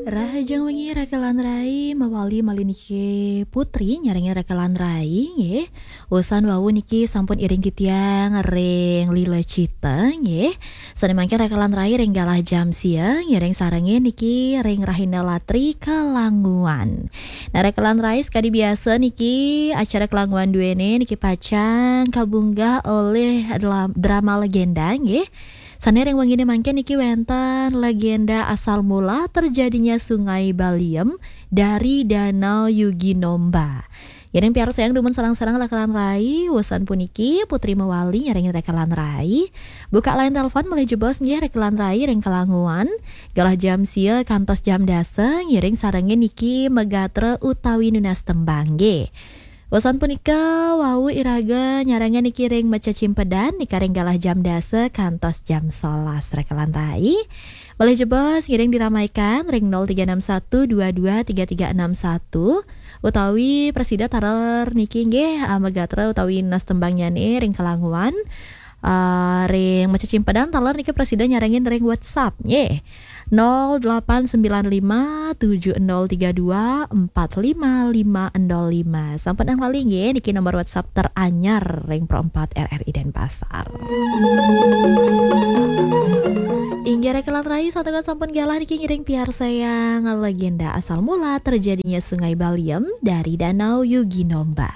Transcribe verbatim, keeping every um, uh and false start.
Rahajeng wengi rekelan rai, mawali malih niki Putri nyarengin rekelan rai nggih. Usan wau niki sampun iring titiang ring Lila Cita nggih. Sane mangkin rekelan rai ring galah jam sia ngiring sarengin niki ring Rahina Latri Kelanguan. Nah, rekelan rai, sekadi biasa niki acara Kelanguan duene niki pacang kabunggah olih dlam-, drama legenda nggih. Sane ring wengine mangkin niki wenten legenda asal mula terjadinya Sungai Baliem dari Danau Yuginomba. Ngiring piarsayang dumun sareng-sareng rekelan rai, usan puniki Putri mawali nyarengin rekelan rai. Buka line telepon malih jebos nggih rekelan rai ring Kelanguan, galah jam sia kantos jam dasa ngiring sarengin niki magatra utawi nunas tembang nggih. Usan punika wau iraga nyarengin niki ring Meca Cimpedan nika ring galah jam dasa kantos jam solas rekelan rai. Malih jebos ngiring diramaikan ring nol tiga enam satu dua dua tiga tiga enam satu utawi prasida taler niki nggih, ah, magatra utawi nunas tembangnyane ring Kelanguan. Ah, ring Meca Cimpedan taler niki prasida nyarengin ring WhatsApp nggih. Nol delapan sembilan lima tujuh nol tiga dua empat lima lima nol lima. Sampun ang lali nggih, niki nomor WhatsApp teranyar ring Pro empat R R I Denpasar. Inggih rekelan rai, santukan sampun galah niki ngiring piarsayang legenda asal mula terjadinya Sungai Baliem dari Danau Yuginomba.